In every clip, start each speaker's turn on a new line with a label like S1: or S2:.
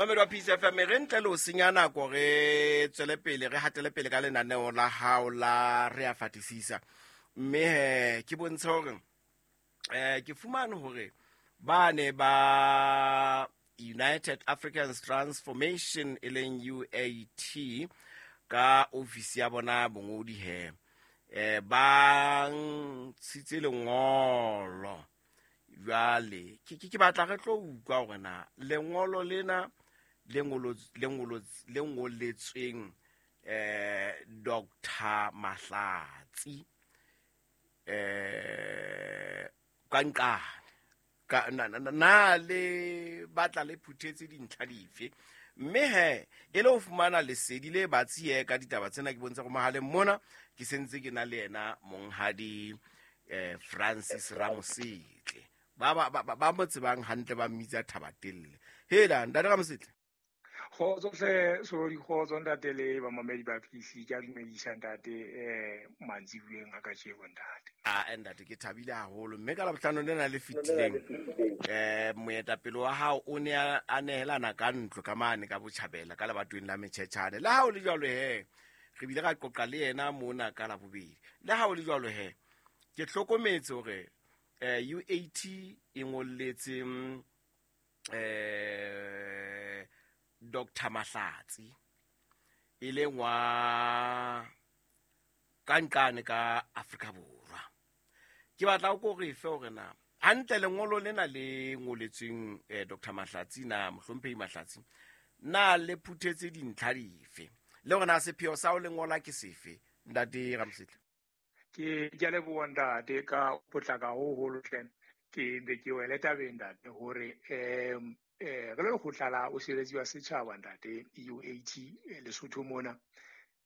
S1: Mamedi wa Peace FM, re ntle le ho senya nako, re tswele pele, re hatele pele ka lenaneo la hao la Re a Fatisisa. Mme he ke bontshe hore ke fumane hore ba ne ba United Africans Transformation e leng UAT ka ofisi ya bona bongodi he ba ntshitse lengolo. Jwale ke batla re tlo utlwa hore na lengolo lena le ngoletsweng Dr. Mahlatsi ka nqane ka na le batla le phuthetse dintlha dife, mme he e le ho fumana lesedi le batsi he ka ditaba tsena. Ke bontsha go mohaleng mona ke sentse ke na le yena monghadi Francis Ramosetle, ba mo tsebang hantle ba mmitsa Thabatelle. Hela ntate Ramosetle.
S2: Kgotso hle Solodi, kgotso ntate le bamamedi ba PC. Ke a dumedisa ntate mantsibueng a kajeno ntate.
S1: A ntate ke thabile haholo, mme ka Labohlano lena le fetileng moetapele wa hao o ne a nehelana ka ntlo ka mane ka botjhabela ka lebatoweng la Metjhetjhane. Le ha o le jwalo he, re bile ra qoqa le yena mona ka Labobedi. Le ha o le jwalo he, ke hlokometse hore UAT e ngolletse Dr. Mahlatsi e leng wa ka nqane ka Afrika Borwa. Ke batla o re fe hore na hantle lengolo lena le ngoletsweng Dr. Mahlatsi na mohlomphehi Mahlatsi na le phuthetse dintlha dife, le hore na sepheo sa ho lengola ke sefe, ntate Ramosetle?
S2: Ke a leboha ntate ka potlaka ho holo hle. Ke be ke wele tabeng ntate hore re le lekgotla la bosireletsi wa setjhaba ntate UAT Lesotho mona,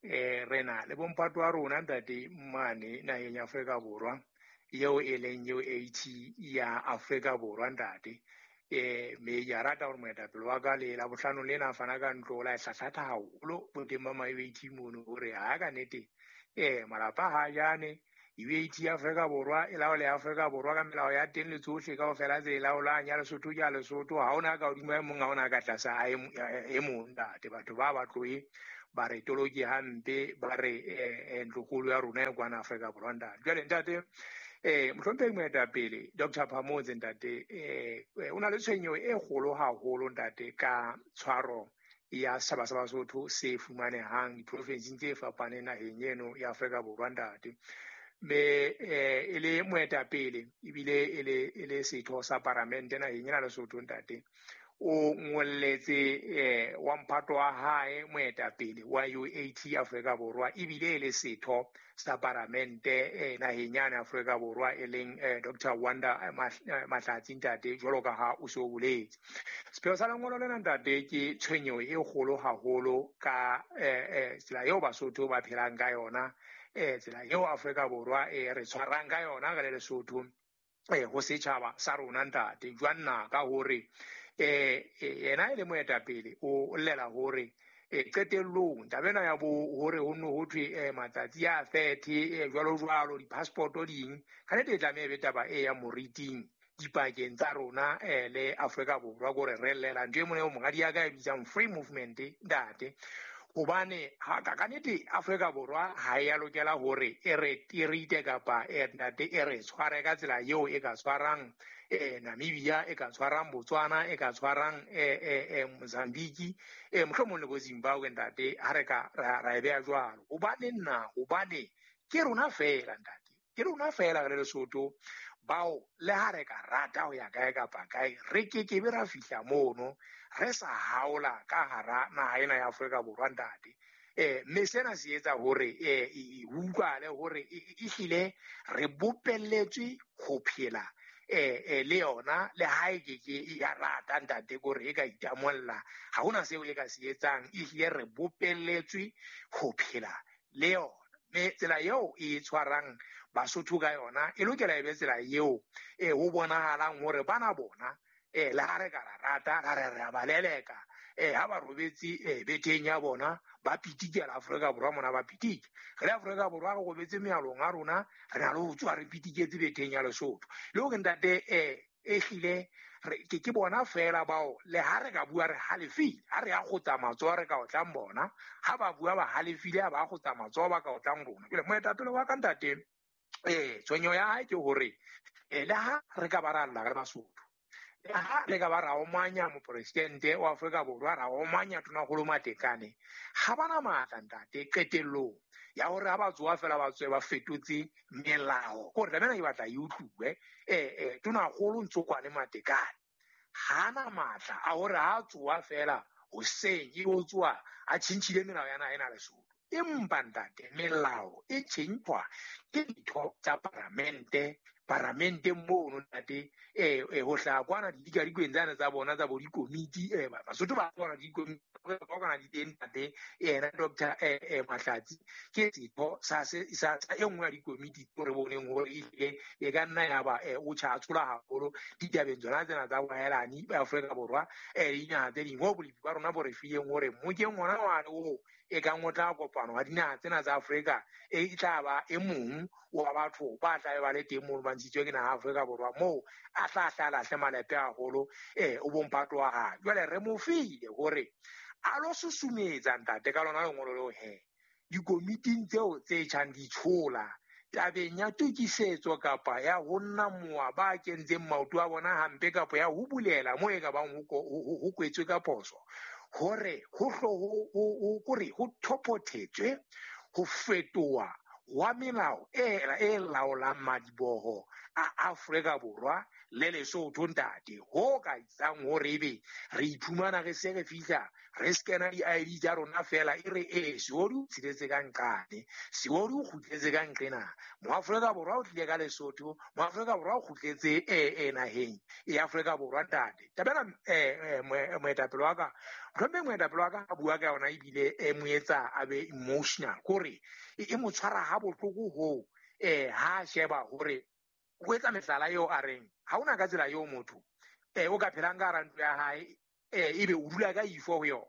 S2: re na le bomphato wa rona ntate mane naheng ya Afrika Borwa eo e leng UAT ya Afrika Borwa ntate. Me ke a rata hore moetapele wa ka le Labohlano lena a fana ka ntlo la e hlahlatha haholo boteng ba ma UAT mono hore ha ka nnete malapa ha jane UAT ya Afrika Borwa e laola ya Afrika Borwa ka melao ya teng le tsohle kaofela tse e laolang, ya Lesotho ke ya Lesotho, ha hona ka hodimo a e mong, ha hona ka tlasa a e mong ntate. Batho ba ba tlohe ba re toloki hampe, ba re ntlokgolo ya rona e kwana Afrika Borwa ntate. Jwale ntate mohlomphehi moetapele Dr. Phamotse ntate o na le tshwenyeho e kgolo haholo ntate ka tshwaro ya setjhaba sa Basotho se fumanehang diprofenseng tse fapaneng naheng eno ya Afrika Borwa ntate. Mme e le moetapele ebile e le setho sa paramente naheng ena Lesotho ntate, o ngolletse wa mphato wa hae moetapele wa UAT Afrika Borwa ebile e le setho sa paramente naheng yane Afrika Borwa e leng Dr. Wanda Mahlatsi ntate, jwalo ka ha o se o boletse. Sepheo sa lengolo lena ntate ke tshwenyeho e kgolo haholo ka tsela eo Basotho ba phelang ka yona, tsela eo Afrika Borwa e re tshwarang ka yona re le Lesotho ho setjhaba sa rona ntate. Jwang na ka hore yena e le moetapele o llela hore qetellong taba ena ya bo hore ho nno ho thwe matsatsi a 30 jwalo jwalo di-passport ding, ka nnete e tlameha e be taba e ya moriting dipakeng tsa rona le Afrika Borwa, kore re llela ntho e mong e monghadi ya ka e bitsang free movement ntate. Hobane ha ka nnete Afrika Borwa ha e a lokela hore e re tirite kapa ntate e re tshware ka tsela eo e ka tshwarang Namibia, e ka tshwarang Botswana, e ka tshwarang Mozambique, mohlomong le bo Zimbabwe ntate, ha re ka ra e beha jwalo. Hobane nna, hobane ke rona feela ntate, ke rona feela re le Lesotho bao le ha re ka rata ho ya kae kapa kae, re kekebe ra fihla mono re sa haola ka hara naha ena ya Afrika Borwa ntate. Mme sena se etsa hore ho utlwahale hore ehlile re bopelletswe ho phela le yona, le ha e keke ya rata ntate kore e ka itamolla, ha hona seo e ka se etsang, ehlile re bopelletswe ho phela le yona. Mme tsela eo e tshwarang Basotho ka yona e lokela e be tsela eo ho bonahalang hore bana bona le ha re ka ra rata ra re re a ba leleka, ha ba robetse betheng ya bona ba pitikela Afrika Borwa mona, ba pitike. Re le Afrika Borwa re robetse mealong a rona, re na le ho tswa re pitiketse betheng ya Lesotho. Le hore ntate Ehlile ke bona feela bao le ha re ka bua re halefile, ha re a kgotsa matsoho re ka otlang bona, ha ba bua ba halefile ha ba kgotsa matsoho ba ka otlang rona. Jwale moetapele wa ka ntate, tshwenyeho ya hae ke hore le ha re ka ba ra lla re Basotho, le ha re ka ba ra omanya mopresidente wa Afrika Borwa, ra omanya Tonakgolo Matekane, ha bana matla ntate qetellong ya hore ha ba tsoha fela ba tswe ba fetotse melao. Ke hore taba ena ke batla e utluwe, Tonakgolo Ntsokwane Matekane ha na matla a hore ha tsoha fela hoseng e o tsoha a tjhentjhile melao ya naha ena Lesotho. Empa ntate, melao e tjhentjhwa ke ditho tsa paramente. Paramenteng mono ntate, ho hlaha kwana didikadikweng tsane tsa bona tsa bo dikomiti, Basotho ba bona dikomiti ba kwana di teng ntate. Yena Doctor Mahlatsi ke setho sa e nngwe ya dikomiti tseo re boneng hore ehlile e ka nna ya ba o tjha a tshola haholo ditabeng tsona tsena tsa boahelani ba Afrika Borwa, le dinaha tse ding. Ho bolepi ba rona bo re fileng hore mokeng ona wane oo e kang o tla kopano wa dinaha tsena tsa Afrika, e tla ba e mong wa batho ba tla be ba le teng mono ba ntshitswe ke naha Afrika Borwa, moo a tla hla lahle malepe haholo, o bomphato wa hae. Jwale re mo file hore a lo susumetsa ntate ka lona lengolo leo he dikomiting tseo tse tjhang di tshola tabeng ya tokisetso kapa ya ho nna mowa ba kentseng maoto a bona hampe kapa ya ho bulela moo e ka bang ho kwetswe ka phoso, hore ho hlo ho kore ho thophothetswe ho fetoha wa melao e laolang madiboho a Afrika Borwa le Lesotho ntate, ho ka etsang hore ebe re iphumana re se re fihla re scanna di-ID tsa rona fela e re Seodi o tsheletse ka nqane, Seodi o kgutletse ka nqena, Moafrika Borwa o tlile ka Lesotho, Moafrika Borwa o kgutletse naheng ya Afrika Borwa ntate. Taba ena moetapele wa ka, mohlomong moetapele wa ka a bua ka yona ebile e mo etsa a be emotional, kore e mo tshwara ha bohloko hoo, ha sheba hore o etsa mehlala eo a reng ha hona ka tsela eo motho o ka phelang ka hara ntlo ya hae, ebe o dula ka ifo ho yona.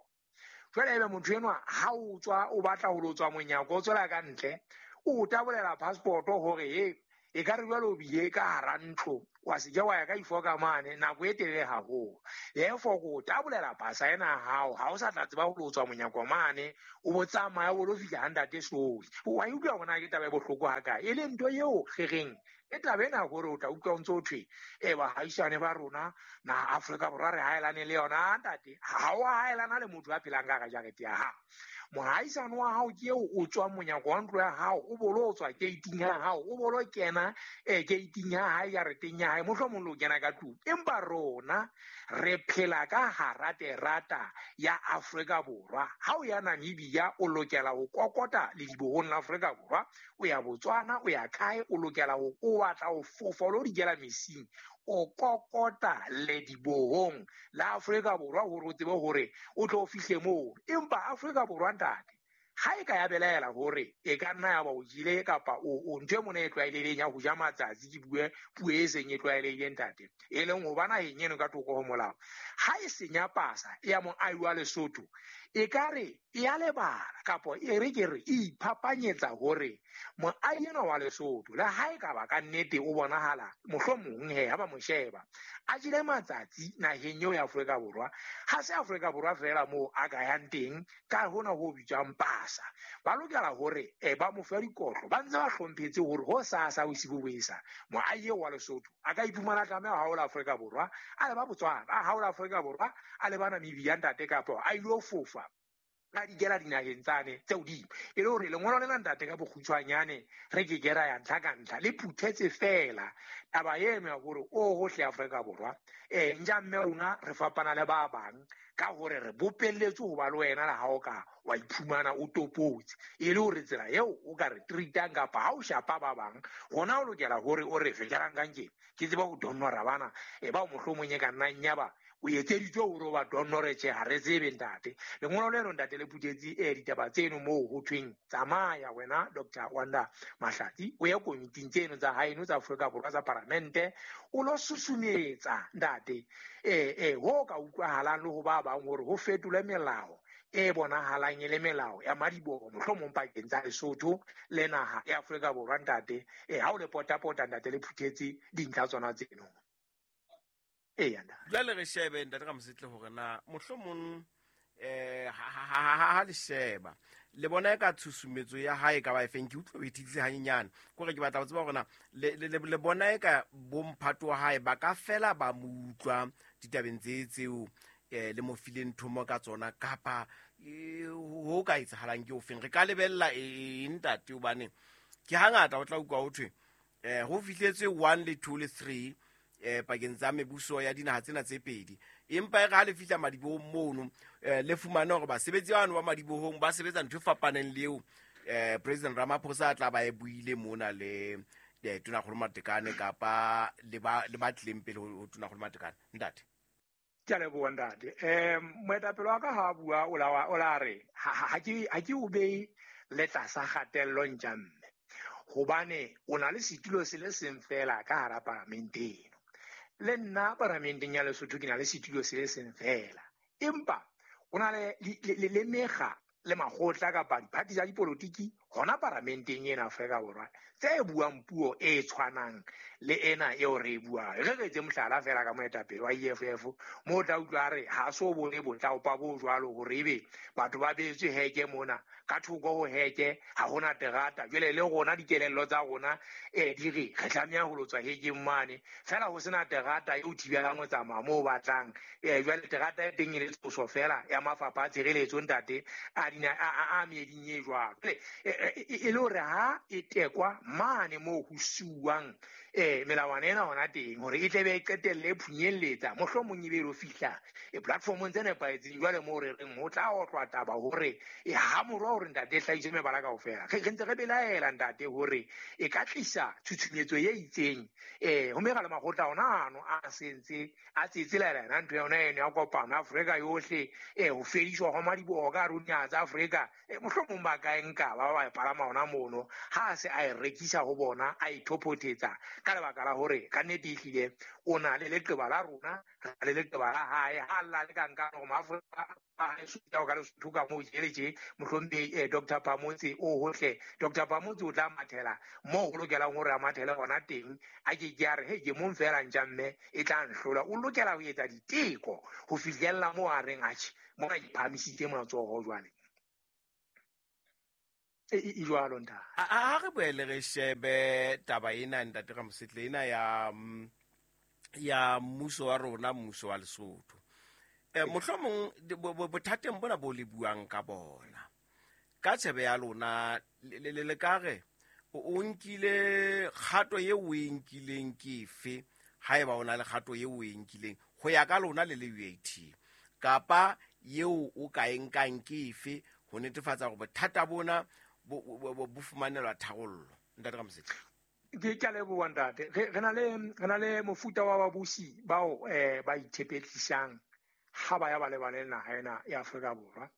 S2: Jwale ebe motho enwa ha o tswa o batla ho lo tswa monyako o tswela ka ntle, o tabolela passport hore e ka re jwale o bile ka hara ntlo, wa se ke wa ya ka ifo ka mane nako e telele haholo. Therefore ko tabolela pasa ena ya hao, ha o sa tla tseba ho lo tswa monyako mane, o bo tsamaya o lo fihla ha ntate Soli. Wa e utlwa hore na ke taba e bohloko ha kae, e leng ntho eo re reng e taba ena hore o tla utlwa o ntso o thwe, bahaisane ba rona naha Afrika Borwa re haelane le yona ntate. Ha o haelana le motho a phelang ka hara jarete ya hao. Mohaisane wa hao ke eo o tswang monyako wa ntlo ya hao, o bolo o tswa gate-ing ya hao, o bolo kena gate-ing ya hae, jareteng ya hae, mohlomong le o kena ka tlung. Empa rona re phela ka hara terata ya Afrika Borwa. Ha o ya Namibia o lokela ho kokota ledibohong la Afrika Borwa, o ya Botswana, o ya kae, o lokela ho o batla ho fofa o lo dikela mesing, o kokota ledibohong la Afrika Borwa hore o tsebe hore o tlo fihle moo. Empa Afrika Borwa ntate, ha e ka ya belaela hore e ka nna ya ba o jele kapa o ntho e mona e tlwaelehileng ya ho ja matsatsi, ke bue puo e seng e tlwaelehileng ntate, e leng ho ba naheng eno ka thoko ho molao, ha e senya pasa ya moahi wa Lesotho, e ka re e a lebala kapa e re ke re e iphapanyetsa hore moahi enwa wa Lesotho le ha e ka ba ka nnete o bonahala mohlomong he ha ba mo sheba a jele matsatsi naheng eo ya Afrika Borwa, ha se Afrika Borwa feela moo a ka yang teng ka hona ho bitswang pasa, ba lokela hore ba mo fe dikotlo, ba ntse ba hlomphetse hore ho sasa bosibu bo esa moahi eo wa Lesotho a ka iphumana a tlameha ho haola Afrika Borwa a leba Botswana, a haola Afrika Borwa a leba Namibia ntate, kapa a ilo fofa a dikela dinaheng tsane tse hodimo. E le hore lengolo lena ntate ka bokgutshwanyane re ke ke ra ya ntlha ka ntlha, le phuthetse feela taba eno ya hore o hohle Afrika Borwa, ntja mme rona re fapana le ba bang ka hore re bopelletswe ho ba le wena le ha o ka wa iphumana o topotse, e le hore tsela eo o ka re treatang kapa ha o shapa ba bang, hona o lokela hore o re fe jarang kang ke tseba ho donora bana, bao mohlomong e ka nnang ya ba o etseditswe hore o ba donore, tjhe, ha re tsebe ntate. Lengolo leno ntate le phuthetse ditaba tseno moo ho thweng tsamaya wena Doctor Wanda Mahlatsi o ye komiting tseno tsa haeno tsa Afrika Borwa tsa paramente, o lo susumetsa ntate, ho ka utlwahalang le ho ba bang hore ho fetolwe melao e bonahalang e le melao ya madiboho mohlomong pakeng tsa Lesotho le naha ya Afrika Borwa ntate. Ha o le potapota ntate le phuthetse dintlha tsona tseno. Eya ntate.
S1: Jwale re shebe ntate Ramosetle hore na mohlomong ha le sheba le bona e ka tshusumetso ya hae ka ba efeng. Ke utlwa o ithitse hanyenyane, kore ke batla ho tseba hore na le bona e ka bomphato wa hae ba ka fela ba mo utlwa ditabeng tse tseo le mo fileng thomo ka tsona, kapa ho ka etsahalang ke ofeng? Re ka lebella eng ntate? Hobane ke hangata o tla utlwa ho thwe ho fihletswe 1 le 2 le 3 pakeng tsa mebuso ya dinaha tsena tse pedi, empa e re ha le fihla madibohong mono le fumane hore basebetsi bano ba madibohong ba sebetsa ntho e fapaneng le eo President Ramaphosa a tla ba e buile mona le Tonakgolo Matekane kapa le ba tlileng pele ho Tonakgolo Matekane. Ntate.
S2: Ke a leboha ntate. Moetapele wa ka ha a bua o la re ha ke o behe le tlasa kgatello ntja mme, hobane o na le setulo se le seng fela ka hara palamente eno. Le nna paramenteng ya Lesotho ke na le setulo se le seng fela, empa o na le mekga le makgotla kapa diphathi tsa dipolotiki hona paramenteng ena Afrika Borwa tse buang puo e tshwanang le ena eo re e buang. Re re etse mohlala fela ka moetapele wa EFF, moo o tla utlwa a re ha so bone botlaopa bo jwalo hore ebe batho ba beetswe heke mona, ka thoko ho heke ha hona terata. Jwale le rona dikelello tsa rona di re re tlameha ho lo tswa hekeng mane, fela ho sena terata eo thibelang ho tsamaya moo o batlang. Jwale terata e teng e le tshoso fela ya mafapha a tshireletso ntate a meeding e jwalo. E le hore ha e tekwa mane moo ho siuwang melawana ena hona teng hore e tle be e qetelle e phunyelletsa, mohlomong e be e lo fihla platformong tse nepahetseng. Jwale moo re reng ho tla otlwa taba hore ha morwa hore ntate e hlahise mebala kaofela, re ntse re belaela ntate hore e ka tlisa tshutshumetso e itseng ho mekga le makgotla ona ano a sentse a tsetsela yona ntho yona eno ya kopano Afrika yohle, ho fediswa hwa madiboho ka hare ho dinaha tsa Afrika. Mohlomong ba ka e nka ba e palama hona mono, ha a se a e rekisa ho bona, a e thophothetsa ka lebaka la hore ka nnete ehlile o na le leqeba la rona, re le leqeba la hae. Ha lla le ka nka hore Maafrika ka Lesotho ka moo tje le tje, mohlomphehi Dr. Phamotse o hohle. Dr. Phamotse o tla mathela moo ho lokelang hore a mathele hona teng, a ke ke a re he ke mong fela ntja mme e tla nhlola. O lokela ho etsa diteko ho fihlella moo a reng atjhe mona ke phahamisitse matsoho jwale. E jwalo ntate.
S1: Ha re boele re shebe taba ena ntate Ramosetle, ena ya mmuso wa rona, mmuso wa Lesotho. Mohlomong bothateng bona bo le buang ka bona, ka tshebe ya lona le ka re o nkile kgato eo o e nkileng ke efe, haeba o na le kgato eo o e nkileng ho ya ka lona le le UAT, kapa eo o ka e nkang ke efe ho netefatsa hore bothata bona bo fumanelwa tharollo? Ntate Ramosetle.
S2: Ke a leboha ntate. Re na le mofuta wa babusi bao ba ithepetlisang ha ba ya ba lebane le naha ena ya Afrika Borwa.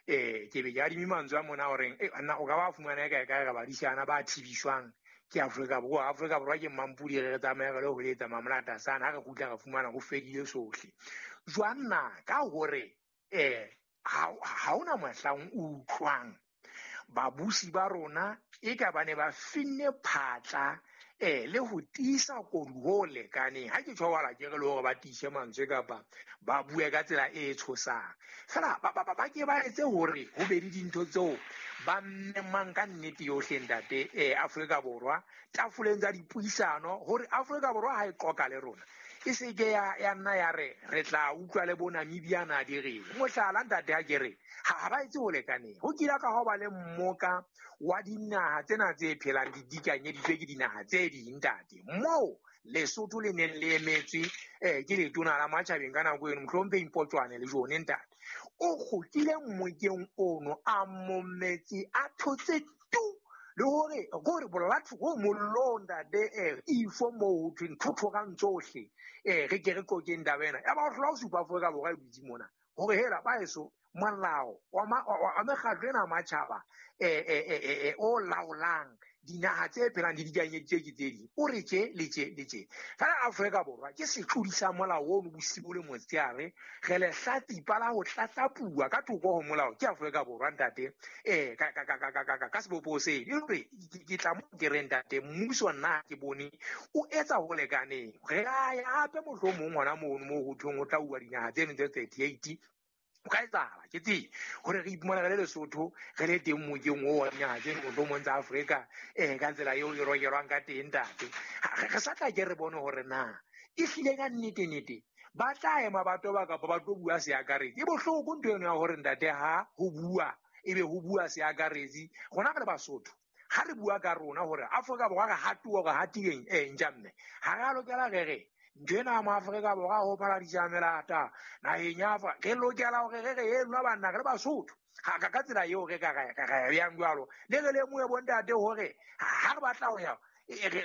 S2: Ke be ke adime mantswe a mona horeng nna o ka ba fumana kae kae re badisana ba thibiswang ke Afrika Borwa. Afrika Borwa ke mmampudi, re tsamaye re le ho letsa mamolata sana, ha re kgutla re fumana ho fedile sohle. Jwang na ka hore ha hona mohlang o utlwang babusi ba rona e ka ba ne ba finne phatla le ho tiisa kodu ho lekaneng. Ha ke tjho wala ke re le hore ba tiise mantswe kapa ba bue ka tsela e tshosang, fela ba ke ba etse hore ho be le dintho tseo ba memang ka nnete yohle ntate Afrika Borwa tafoleng tsa dipuisano, hore Afrika Borwa ha e qoka le rona e se ke ya nna ya re re tla utlwa le bo Namibia na di reng. Mohlala ntate ha ke re ha ba etse ho lekaneng. Ho kile ka ho ba le mmoka wa dinaha tsena tse phelang di dikanyeditswe ke dinaha tse ding ntate, moo Lesotho le neng le emetswe ke letona la matjhabeng ka nako eno, mohlomphehi Mpotjwane le jone ntate. O kgutlile mmokeng ono a mometse a thotse tu, le hore gore bolatho go mollo ntate ifo moo ho thweng thothogang tsohle, re ke re qokeng taba ena. Ya ba o hlola ho supa Afrika Borwa e dutse mona hore hela ba eso molao wa mekgatlo ena ya matjhaba o laolang Dinaha tse phelang di dikanyeditswe ke tse ding, o re tje le tje le tje. Fela Afrika Borwa ke setlodi sa molao ono bosibu le motshehare, re lehlatsipa la ho tlatlapuwa ka thoko ho molao ke Afrika Borwa ntate, ka sebopeho seno. E le hore ke tla mo ke re ntate, mmuso nna ke bone o etsa ho lekaneng. Re a ya hape mohlomong hona mono moo ho thweng ho tla uwa dinaha tseno tse 38. O ka etsahala ke tsebe hore re iphumana re le Lesotho re le teng mokeng oo wa dinaha tseno mohlomong tsa Afrika, ka tsela eo e rokelwang ka teng ntate. Re sa tla ke re bone hore na e hlile ka nnete-nnete ba tla ema ba toba kapa ba tlo bua seakaretsi. E bohloko ntho eno ya hore ntate ha ho bua ebe ho bua seakaretsi. Rona re le Basotho ha re bua ka rona hore Afrika Borwa re hatuwa re hatileng, ntja mme ha re a lokela re re ntho ena mo Afrika Borwa ho phala dijamelata naheng ya Afrika, re lokela hore re re e lona banna re le Basotho. Ha ka tsela eo re ka re bjang jwalo. Le re lemohe bontate hore ha re batla ho ya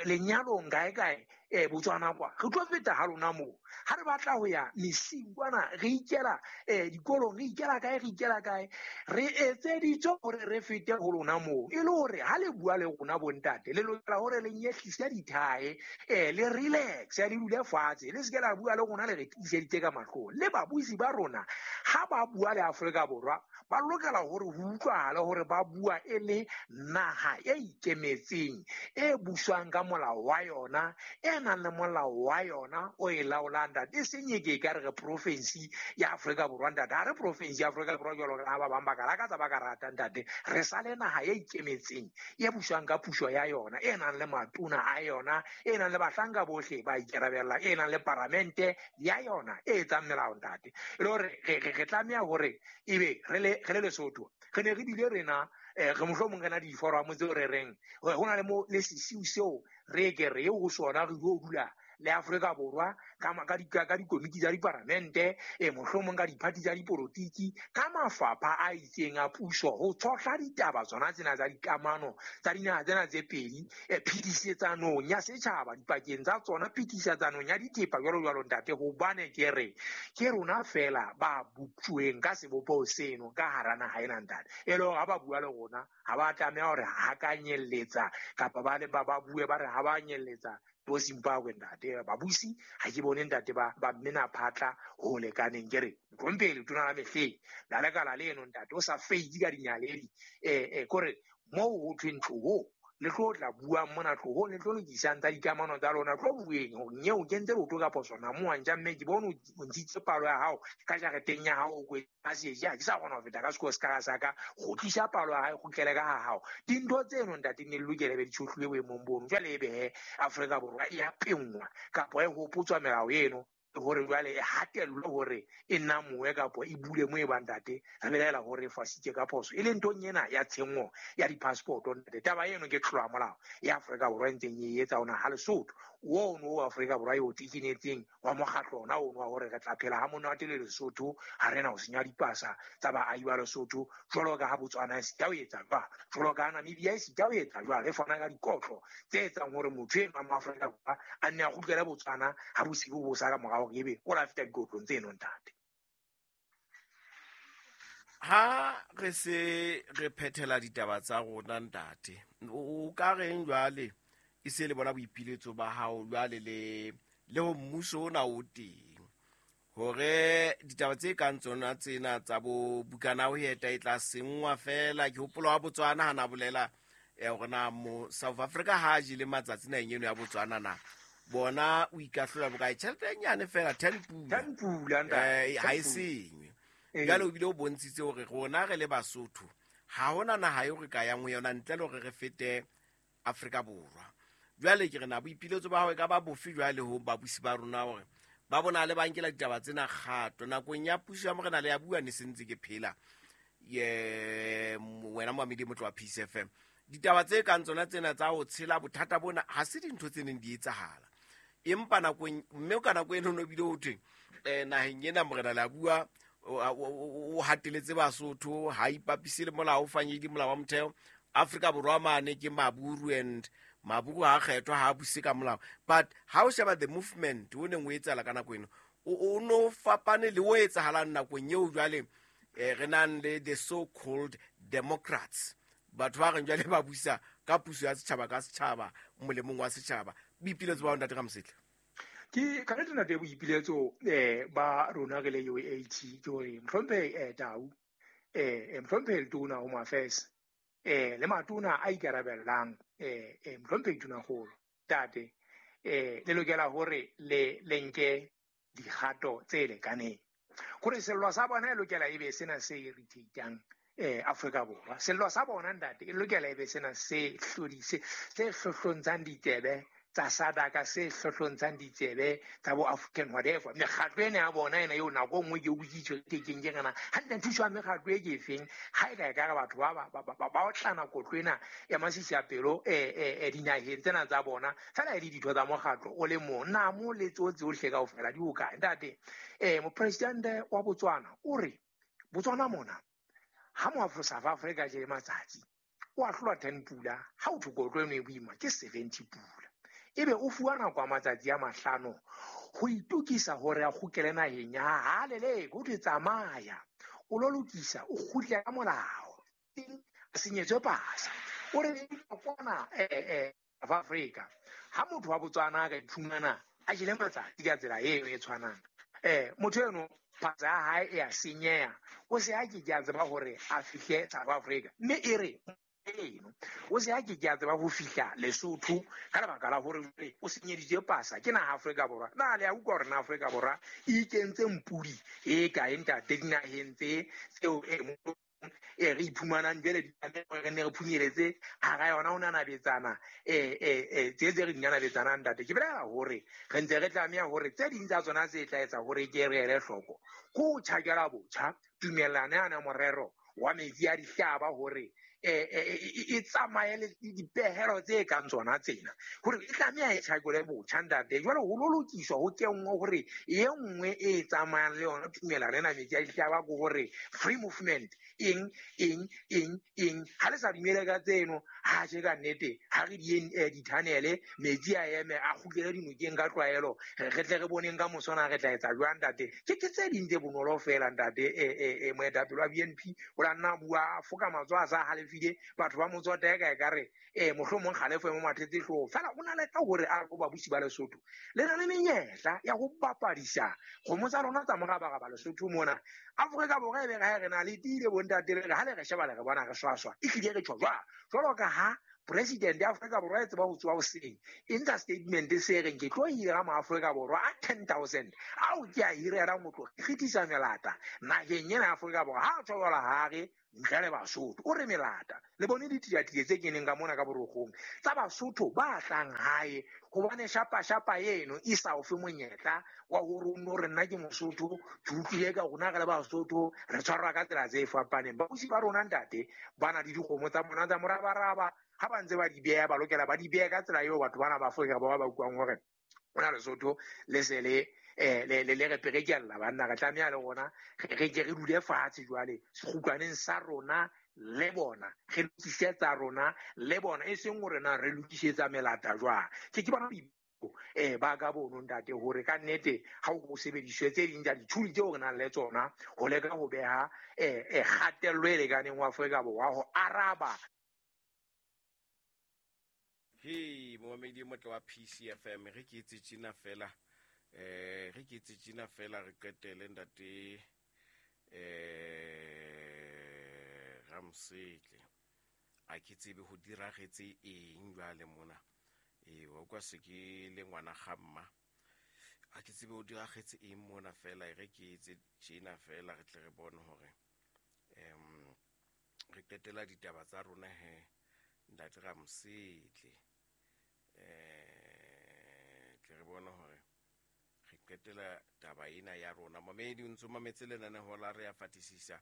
S2: lenyalong kae kae, Botswana kwa, re tlo feta ha lona moo. Ha re batla ho ya mesing kwana, re ikela, dikolong, re ikela kae, re ikela kae, re etseditswe hore re fete ho lona moo. E le hore ha le bua le rona bontate, le lokela hore le nyehlise dithae, le relax, le dule fatshe, le seke la bua le rona le re tiiseditse ka mahlong. Le babusi ba rona ha ba bua le Afrika Borwa, ba lokela hore ho utlwahale hore ba bua e le naha e ikemetseng, e buswang ka molao wa yona, e nang le molao wa yona o e laolang ntate. E seng e ke e ka re re province ya Afrika Borwa ntate. Ha re province ya Afrika Borwa jwalo ka ha ba bang ba ka lakatsa ba ka rata ntate. Re sa le naha e ikemetseng, e buswang ka puso ya yona, e nang le matona a yona, e nang le bahlanka bohle ba ikarabellang, e nang le paramente ya yona e etsang melao ntate. E le hore re tlameha hore ebe re le Lesotho, re ne re bile rena, re mohlomong re na diforamo tseo re reng ho na le mo le sesiu seo re ke re eo ho sona re yo dula le Afrika Borwa ka dikomiti tsa diparamente, mohlomong ka diphathi tsa dipolotiki, ka mafapha a itseng a puso ho tshohla ditaba tsona tsena tsa dikamano tsa dinaha tsena tse pedi, phetisetsanong ya setjhaba dipakeng tsa tsona, phetisetsanong ya dithepa jwalo jwalo ntate. Hobane ke re ke rona fela ba boptjweng ka sebopeho seno ka hara naha ena ntate. E le hore ha ba bua le rona ha ba tlameha hore hakanyelletsa kapa ba le ba bue ba re ha ba nyelletsa bo Zimbabwe ntate. Babusi ha ke bone ntate ba mmena phatla ho lekaneng. Ke re hlomphe letona la mehleng la lekala leno ntate, o sa feitse ka dinyaledi, kore moo ho thweng tloho le tlo tla buang mona, tloho le tlo lokisang tsa dikamano tsa lona, tlo bueng hore nyeo kentse leoto ka phoso na mo wa ntja mme ke bone o ntshitse palo ya hao ka jareteng ya hao, o kwetse ka seje, ha ke sa kgona ho feta ka sekolo se ka sa ka, kgutlisa palo ya hae, kgutlele ka ha hao. Dintho tseno ntate ne di lokele be di tshohlilwe boemong bono. Jwale ebe he Afrika Borwa e a penngwa kapa e hopotswa melao eno hore jwale e hatellwe hore e namowe kapa e bule mo e bang ntate, re belaela hore e fasitse ka phoso. E le nthong ena ya tshenyo ya di-passport ntate. Taba eno ke tlolo ya molao ya Afrika Borwa e ntseng e etsa ona ha Lesotho ono o Afrika Borwa e o tekenetseng wa mokgatlo ona ono wa hore re tla phela ha monate le Lesotho, ha re na ho senya dipasa tsa baahi ba Lesotho jwalo ka ha Botswana e sita ho etsa jwalo, jwalo ka ha Namibia e sita ho etsa jwalo, e fana ka dikotlo tse etsang hore motho enwa mo Afrika Borwa a nne a kgutlele Botswana ha bosibu bo sa ka morao hore ebe o la feta dikotlong tseno ntate.
S1: Ha re se re phethela ditaba tsa rona ntate, o ka reng jwale e se le bona boipiletso ba hao jwale le ho mmuso ona o teng hore ditaba tse kang tsona tsena tsa bo bukana ho eta e tla senngwa fela? Ke hopola wa Botswana ha na bolela hore na mo South Africa ha jele matsatsi naheng eno ya Botswana na bona o ikahlola bokae, tjhelete e nyane fela 10 pula.
S2: 10 pula, ntate.
S1: Ha e senywe. Jwale o bile o bontshitse hore rona re le Basotho ha hona naha eo re ka yang ho yona ntle le hore re fete Afrika Borwa. Jwale ke re na boipiletso ba hao e ka ba bofe jwale ho babusi ba rona hore ba bona le ba nkela ditaba tsena kgato nakong ya puso ya morena le ya bua ne se ntse ke phela ye wena Moamedi Motlo wa Peace FM. Ditaba tse kang tsona tsena tsa ho tshela bothata bona ha se dintho tse neng di etsahala, empa nakong mme ka nako eno no bile ho thwe, naheng ena morena le a bua o hateletse Basotho, ha ipapise le molao, o fanyedi molao wa motheo. Afrika Borwa mane ke Maburu and Maburu ha kgethwa, ha buse ka molao. But ha o sheba the movement o neng o etsahala ka nako eno, o no fapane le o etsahalang nakong eo jwale, re nang le the so called democrats, batho ba reng jwale ba busa ka puso ya setjhaba ka setjhaba molemong wa setjhaba. Boipiletso ba ntate Ramosetle?
S2: Ke ka nnete ntate, boipiletso ba rona re le UAT ke hore mohlomphehi Tau, mohlomphehi Letona Home Affairs, le matona a ikarabellang, mohlomphehi Tonakgolo, tate, le lokela hore le nke dikgato tse lekaneng hore sello sa bona e lokela ebe sena se irritatang Afrika Borwa. Sello sa bona ntate e lokela ebe sena se hlodise, se hlohlontshang ditsebe tsa SADC, se hlohlontshang ditsebe tsa bo African whatever. Mekgatlo ena ya bona ena eo nako e nngwe ke utlwisitswe ke keng ke rena hantle thuso ya mekgatlo e ke efeng ha e ka e ka re batho ba otlana kotlo ena ya masisi a pelo dinaheng tsena tsa bona fela e le ditho tsa mokgatlo o le mong namo le tseo tsohle kaofela di hokae ntate. Mopresidente wa Botswana o re Botswana mona ha mo South Africa je matsatsi o ahlolwa 10 pula, ha o thwe kotlo eno e boima ke 70 pula, ebe o fuwa nako ya matsatsi a 5 ho itokisa hore a kgutlele naheng ya hae. Ha leleke, ho thwe tsamaya o lo lokisa, o kgutle ka molao, a senyetswe pasa. O re kwana South Africa ha motho wa Botswana a ka iphumana a jele matsatsi ka tsela eo e tshwanang, motho eno pasa ya hae e a senyeha, o se a ke ke a tseba hore a fihle South Africa, mme e re eno o se a ke ke a tseba ho fihla Lesotho ka lebaka la hore jwale o senyeditswe pasa ke naha Afrika Borwa. Na le a utlwa hore na Afrika Borwa e ikentse mpudi e kae ntate dinaheng tse tseo e re iphumanang jwale di tlameha re ne re phunyeletse hara yona ho nanabetsana, tse tse re di nanabetsanang ntate. Ke bolela hore re ntse re tlameha hore tse ding tsa tsona tse tla etsa hore ke re ele hloko ke ho tjhakela botjha tumellano yana morero wa metsi a dihlaba hore e tsamaye le dipehelo tse kang tsona tsena, hore e tlameha e tjhakole botjha ntate. Jwale ho lo lokiswa ho kenngwe hore e nngwe e tsamayang le yona tumellano ena metsi a dihlaba ke hore free movement eng eng eng eng. Ha le sa dumele ka tseno, ha tjhe ka nnete ha re di dithanele metsi a eme a kgutlele dinokeng ka tlwaelo, re tle re boneng ka moso na re tla etsa jwang ntate. Ke tse ding tse bonolo fela ntate. Moetapele wa BNP o la nna bua foka matsoho a sa halefile, batho ba mo tsota eka ekare mohlomong kgalefo e mo mathetse hlooho fela. O na le ka hore a re ho babusi ba Lesotho le na le menyetla ya ho bapadisa kgomo tsa lona tsa morabaraba Lesotho mona. Afrika Borwa e be re na le tiile bontate, le re ha le re sheba le re bona re swaswa, ehlile re tjho jwang jwalo ka ha president ya Afrika Borwa e tseba ho tsoha hoseng e ntsha statement se reng ke tlo hira ma Afrika Borwa a 10,000 ao ke a hirelang ho tlo kgethisa melata naheng ena ya Afrika Borwa. Ha a tjho jwalo ha re ntle le Basotho, o re melata le bone ditiatile tse keneng ka mona ka borokgong tsa Basotho ba tlang hae, hobane shapa shapa eno e sa o fe monyetla wa hore o nno re nna ke Mosotho, ke utlwile ka rona re le Basotho re tshwarwa ka tsela tse fapaneng. Babusi ba rona ntate ba na le dikgomo tsa bona tsa morabaraba, ha ba ntse ba di beha ba lokela ba di behe ka tsela eo batho bana ba Afrika Borwa ba utlwang hore ona Lesotho le se le le re perekella banna, re tlameha le rona re ke re dule fatshe jwale sekgutlwaneng sa rona le bona, re lokisetsa rona le bona, e seng hore na re lokisetsa melata jwang. Ke bona ba ka bono ntate hore ka nnete ha o sebediswe tse ding tsa dithuli tseo re nang le tsona ho leka ho beha kgatello e lekaneng ho Afrika Borwa ho araba.
S1: He momamedi motle wa PCFM, re ke etse tjena fela, re ke etse tjena fela re qetele ntate Ramosetle. A ke tsebe ho diragetse eng jwale mona. Wa kwa se ke le ngwana ga mma. A ke tsebe ho diragetse eng mona fela, re ke etse tjena fela re tle re bone hore re qetela ditaba tsa rona he ntate Ramosetle. Tle re bone hore re qetela taba ena ya rona. Mamedi o ntso mametse lenaneo la Re a Fatisisa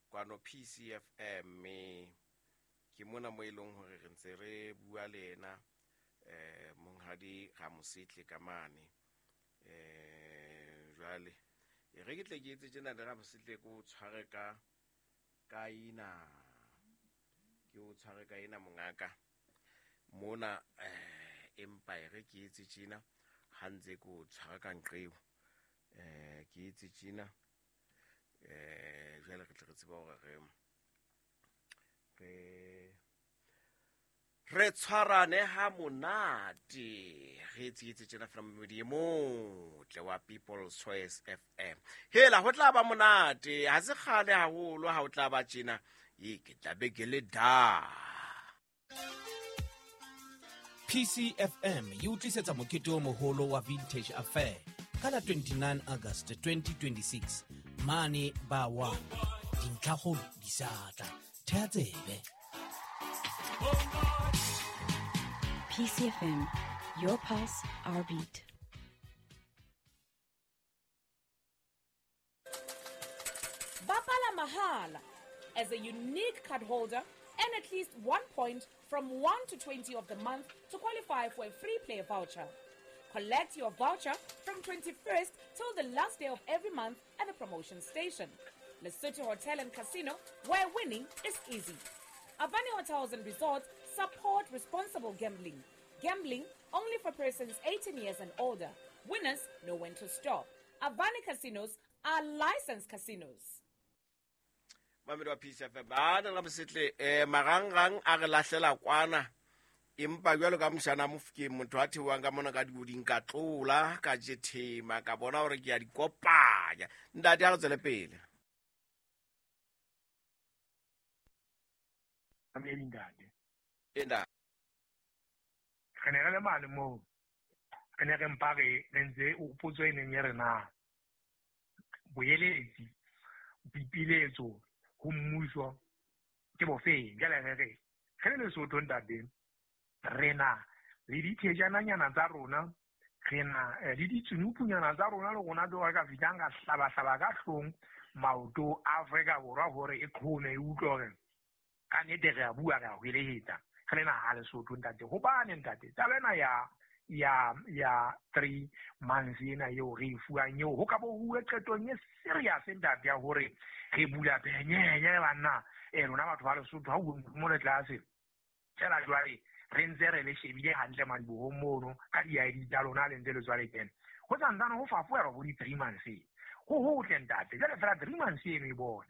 S1: kwano PCFM, mme ke mona mo e leng hore re ntse re bua le ena monghadi Ramosetle ka mane. Jwale e re ke tle ke etse tjena le Ramosetle, ke o tshware ka ena, ke o tshware ka ena mongaka mona, empa e re ke etse tjena ha ntse ke o tshwara ka nqeo, ke etse tjena, jwale re tle re tsebe hore re Re tshwarane ha monate re tsetse tjena fela momedi e motle wa People's Choice FM. Hela ho tla ba monate, ha se kgale haholo ha o tla ba tjena, e ke tla be ke le da.
S3: PCFM e o tlisetsa mokete o moholo wa Vintage Affair ka la 29 August 2026 mane ba wa dintlhakgolo di sa tla. Thea tsebe.
S4: PCFM, your pulse, our beat.
S5: Bapala Mahala. As a unique card holder, earn at least 1 point from 1 to 20 of the month to qualify for a free play voucher. Collect your voucher from 21st till the last day of every month at the promotion station. Lesotho Hotel and Casino, where winning is easy. Avani Hotels and Resorts support responsible gambling. Gambling only for persons 18 years and older. Winners know when to stop. Avani Casinos are licensed casinos.
S1: Mamedi wa PCFM, ba na la bosetle marangrang a re lahlela kwana, empa jwalo ka moshana Mofokeng, motho a theohang ka mona ka dioding, ka tlola ka jethema, ka bona hore ke ya di kopanya. Ntate, ha re tswele pele.
S2: Mamedi ntate.
S1: Enda.
S2: Re ne re le mane moo, re ne re mpa re ntse o potso e neng e re na boeletsi, boipiletso ho mmuso ke bofeng. Jwale re re re le Lesotho ntate, re na le dithejananyana tsa rona, re na le ditsunupunyana tsa rona, le rona tse re ka fihlang ka hlabahlaba ka hlong maoto a Afrika Borwa hore e qhome, e utlwe hore ka nnete re a bua, re a hwelehetsa re le naha Lesotho ntate. Hobane ntate, taba ena ya 3 months ena eo re e fuwang eo, ho ka bo huwe qetong e serious ntate ya hore re bula penyenye banna, lona batho ba Lesotho, ha o mo le tlase fela jwale re ntse re le shebile hantle madibohong mono ka di-ID tsa lona le ntse le tswa le kena. Ho santsane ho fapohelwa bo di-3 months ho hotle ntate. Jwale fela 3 months eno e bone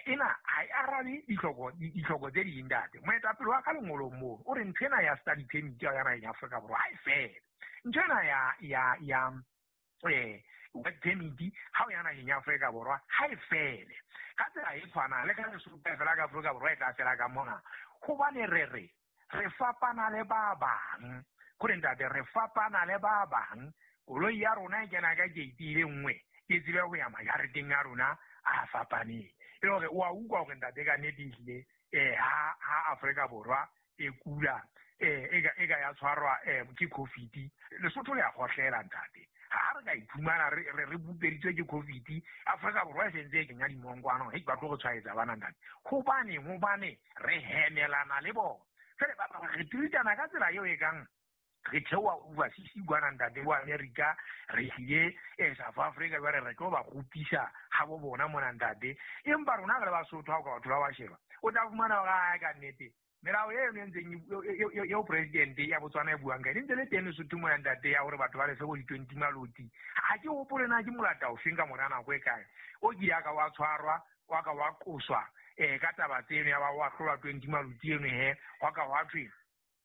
S2: ena ha e arabe ditlhoko tse ding ntate. Moetapele wa ka lengolong mono o re ntho ena ya study permit ya naheng ya Afrika Borwa ha e fele. Ntho ena ya work permit ha o ya naheng ya Afrika Borwa ha e fele. Ka tsela e tshwanang le ka Lesotho fela ka Afrika Borwa e tla fela ka mona. Hobane re re re fapana le ba bang, kore ntate re fapana le ba bang. Koloi ya rona e kena ka gate e le nngwe, e tsebe ho ya majareteng a rona a fapaneng. E le hore o a utlwa hore ntate ka nnete ehlile ha Afrika Borwa e kula, e ka ya tshwarwa ke COVID, Lesotho le a kgohlela ntate. Ha re ka iphumana re bupeditswe ke COVID, Afrika Borwa e sentse e kenya dimongkwana, hei ba tlo re tshwaetsa bana ntate. Hobane re hemelana le bona. Fela ba re treatana ka tsela eo e kang re theoha overseas kwana ntate bo America, re tlile South Africa, jwale re tlo ba kgopisa ha bo bona mona ntate. Empa rona re le Basotho ha o ka batho ba ba sheba, o tla fumana hore a ka nnete melao eno e ntseng eo president ya Botswana e buang ka ene ntse le teng Lesotho mona ntate, ya hore batho ba lefe bo di-20 maloti. Ha ke hopole na ke molata ofeng ka mora nako e kae o kile a ka wa tshwarwa, wa ka wa qoswa ka taba tseno, ya ba wa hlolwa 20 maloti eno he, wa ka wa thwe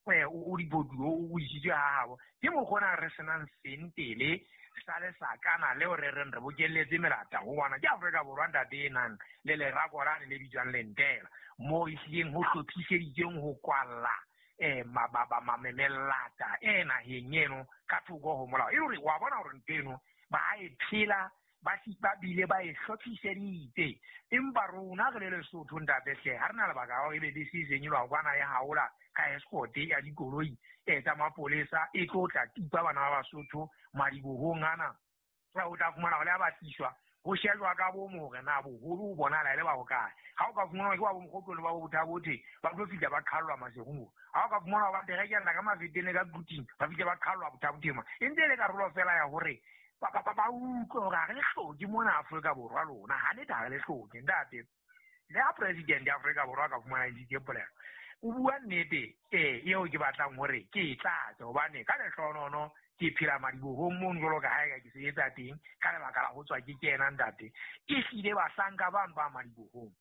S2: o dibodu o isitswe ha habo. Ke mokgona re senang sentele sa lesakana leo re reng re bokelletse melata ho bona. Ke Afrika Borwa ntate e nang le lerako lane le bitswang lentela, moo e hlileng ho hlophiseditsweng ho kwalla melata e naheng eno ka thoko ho molao. E le hore wa bona hore ntho eno ba e phela, ba bile ba e hlophiseditse. Empa rona re le Lesotho ntate hle, ha re na lebaka la hore ebe bese e seng e lwa kwana e haola ka escort ya dikoloi tsa mapolesa e tlo tla tipa bana ba Basotho madibohong ana. O tla fumana hore le ha ba tliswa ho shejwa ka bomo hore na boholo bo bonahala e le ba hokae. Ha o ka fumana ke ba bo Mokgotlong le ba bo Bothabothe, ba tlo fihla ba qhallwa Maseru. Ha o ka fumana ba terekella ka Mafeteng ka Quthing, ba fihle ba qhallwa Bothabothe ma. E ntse e le karolo fela ya hore ba utlwe hore ha re le hloke mona Afrika Borwa lona, ha nnete ha re le hloke ntate. Le ha president ya Afrika Borwa ka fumana ntshitse polelo, o bua nnete eo ke batlang hore ke e tlatse, hobane ka lehlohonono ke phela madibohong mono jwalo ka ha eka ke sebetsa teng ka lebaka la ho tswa ke kena ntate. Ehlile bahlanka bano ba madibohong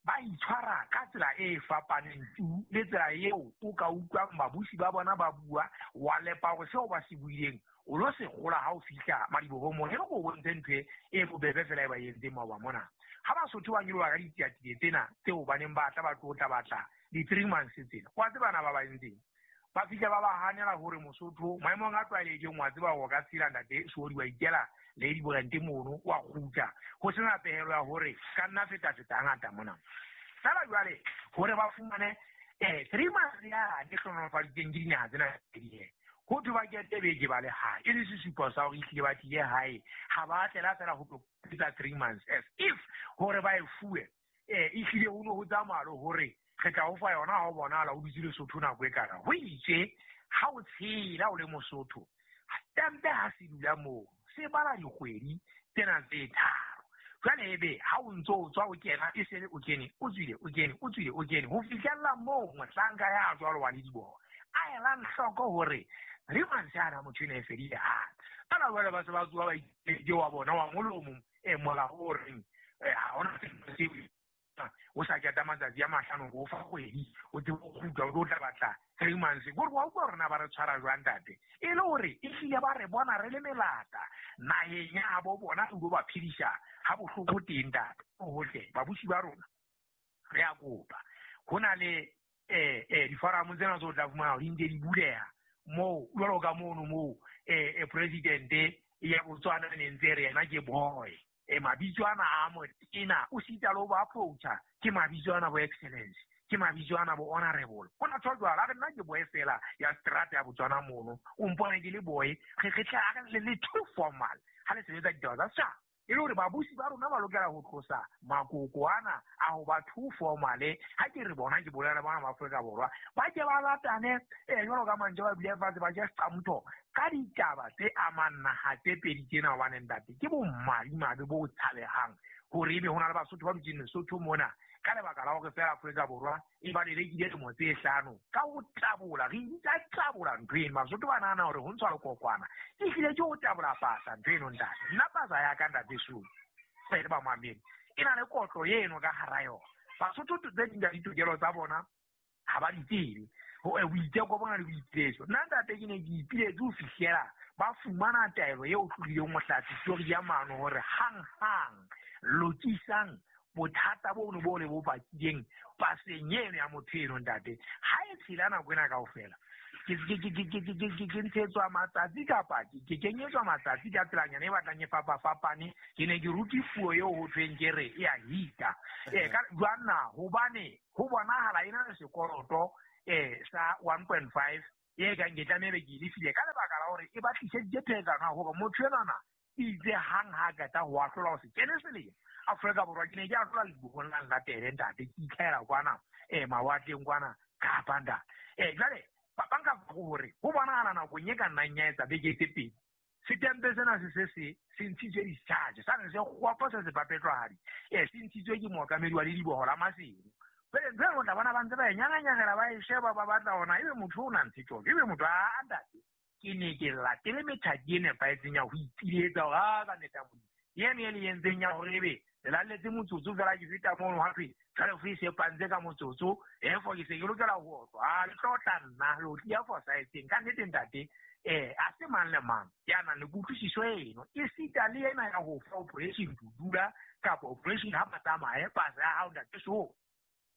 S2: Ba itshwara ka tsela e fapaneng tu le tsela eo o ka utlwang babusi ba bona ba bua wa lepa hore seo ba se buileng o lo se gola ha o fihla madibohong mona. E re ko bontshe ntho e bobebe fela e ba entseng maoba mona. Ha Basotho ba nyoloha ka ditsiatsie tsena tseo ba neng ba tla ba tlo tla batla di-3 months tsena, wa tseba na ba ba entseng? Ba fihla ba ba hanela hore Mosotho maemong a tlwaelehileng wa tseba hore o ka tshela ntate Seodi wa ikela le diborente mono wa kgutla ho sena pehelo ya hore ka nna feta-feta hangata mona. Feela jwale hore ba fumane 3 months yane hlohonolofaditsweng ke dinaha tsena tse pedi he, ho thwe ba kete beke ba le hae, e le sesupo sa hore ehlile ba tlile hae, ha ba tlela fela ho tlo etsa 3 months as if hore ba e fuwe. Ehlile ho no ho tsamaya le hore re tla o fa yona ha o bonahala o dutse Lesotho nako e kana. Ho itse ha o tshela o le Mosotho, stampe ha se dula moo, se bala dikgwedi tsena tse tharo. Jwale ebe ha o ntso o tswa o kena, e sele o kene, o tswile, o kene, o tswile, o kene, ho fihlella moo mohlanka ya jwalo wa lediboho a elang hloko hore 3 months yana motho ena e fedile hape. Fela jwale ba se ba tsoha ba itse wa bona wa molomo, molao o reng, ha hona seo o sa keta matsatsi a mahlano ho fa kgwedi, o tsebe ho kgutla, o tlo tla batla 3 months. Kore wa utlwa hore na ba re tshwara jwang ntate? E le hore ehlile ba re bona re le melata naheng ya bo bona, re ilo ba phedisa ha bohloko teng ntate. Hohle babusi ba rona re a kopa, ho na le diforamo tsena tse o tla fumana di ntse di buleha moo, jwalo ka mono moo presidente ya Botswana ne ntse re yena ke boy. Mabitso ana a motena o sita le ho ba approacha ke mabitso ana bo excellence, ke mabitso ana bo honorable. Ho na tshwa jwalo, a re nna ke boy fela ya strata ya Botswana mono, o mpone ke le boy, re tla re le too formal ha le sebetsa ditaba tsa setjhaba. E le hore babusi ba rona ba lokela ho tlosa makoko ana a ho ba too formal. Ha ke re bona ke bolela le bona ba Afrika Borwa, ba ke ba latane, jwalo ka mantswe ba dule fatshe ba je seqamotho ka ditaba tse amang naha tse pedi tsena. Hobane ntate ke bomadimabe bo tshabehang hore ebe ho na le Basotho ba dutseng Lesotho mona ka lebaka la hore fela Afrika Borwa e ba lelekile dilemo tse hlano ka ho tabola. Re bitsa tabola ntho eno. Basotho ba nahana hore ho ntshwa lekokwana ehlile ke ho tabola pasa ntho eno ntate. Nna pasa ya ka ntate Sulu le ba mamedi e na le kotlo eno ka hara yona. Basotho tse ding tsa ditokelo tsa bona ha ba di tsebe. Boiteko bona le boipiletso. Nna ntate ke ne ke ipiletse ho fihlela ba fumana taelo eo tlohileng mohlatsi ya mano hore hang-hang lokisang bothata bono bo le bo bakileng paseng eno ya motho eno ntate. Ha e tshela nako ena kaofela, ke ntshetswa matsatsi kapa ke kenyetswa matsatsi ka tselanyana e batlang e fapafapane. Ke ne ke rute puo eo ho thweng ke re e a hita. Ka jwang na? Hobane ho bonahala e na le sekoloto sa 1.5 e kang ke tlameha be ke e lefile ka lebaka la hore e ba tliseditse pherekano ya hore motho enwana itse hang ha qeta ho ahlola ho se kene selemo Afrika Borwa. Ke ne ke ahlola ledibohong la nlatele ntate, ke itlhahela kwana mawatleng kwana Kapa ntate. Jwale ba nka hore ho bonahala nakong e ka nnang ya etsa beke tse pedi, setempe sena se se ntshitswe discharge, sa ne se kgopo se se papetlwahadi, se ntshitswe ke mookamedi wa lediboho la Maseru. Jwale ntho eno o tla bona ba ntse ba e nyanganyangela, ba e sheba, ba batla hona ebe motho o na ntshetswa, ebe motho a ntate. Ke ne ke latele methati e nepahetseng ya ho ipiletsa hore a ka neta Modimo. Eno e le entseng ya hore ebe le lalletse motsotso fela ke feta mono ha thwe jwale fo e sepantse ka motsotso, efo ke se ke lokela ho otlwa. A le tlo tla nna lo tlia fosahetseng. Ka nnete ntate, a se mang le mang ya nang le kutlwisiso eno, esita le ena ya ho fa operation dudula kapa operation ha ba tsamaye pasa ya hao ntate so.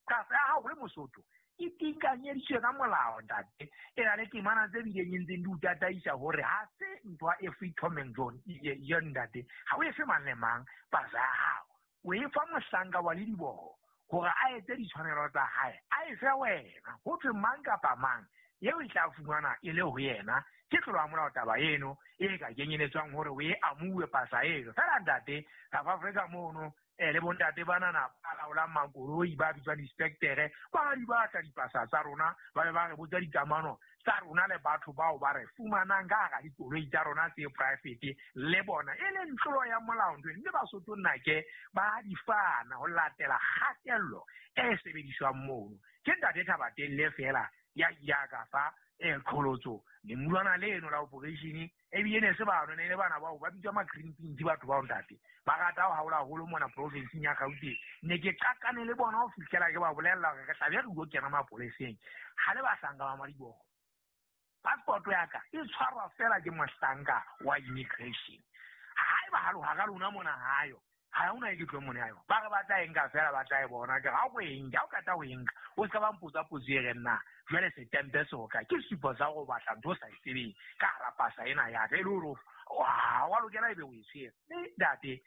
S2: Pasa ya hao le Mosotho e tinkanyeditswe ka molao ntate. E na le temana tse bileng e ntseng di o tataisa hore ha se ntho e free Tom and John yo ntate. Ha o e fe mang le mang pasa ya hao, o e fa mohlanka wa lediboho hore a etse ditshwanelo tsa hae, a e fe wena. Ho thwe mang kapa mang eo e tla fumana e le ho yena ke tlolo ya molao taba eno e ka kenyeletswang hore o e amuwe pasa eno. Fela ntate South Africa mono le bontate banana ba laolang makoloi ba bitswang di-inspectere ba di batla dipasa tsa rona, ba be ba re botsa dikamano tsa rona le batho bao ba re fumanang ka hara dikoloi tsa rona tse private le bona e leng tlolo ya molao ntho eno. Mme Basotho nnake ba di fana ho latela kgatello e sebediswang mono. Ke ntate Thabatelle fela ya ya ka fa qholotso lemulwana leno la operation ebile ne se bano ne le bana bao ba bitswa ma-green pins batho bao ntate. Ba rata ho haola haholo mona provinseng ya Gauteng. Ne ke qakane le bona ho fihlela ke ba bolella hore re tla be re yo kena mapoleseng. Ha le bahlanka ba madiboho. Passport ya ka e tshwarwa fela ke mohlanka wa immigration. Haeba ha hara lona mona hayo, ha hona e ke tlo mona hayo. Ba re ba tla e nka fela ba tla e bona. Ke ha o e nka, ha o qeta ho e nka, o ska ba mpotsa potso e reng na jwale setempe se ho kae? Ke sesupo sa hore o batla ntho o sa e tsebeng ka hara pasa ena ya ka. E le hore wa lokela ebe o e tshwere. Mme ntate,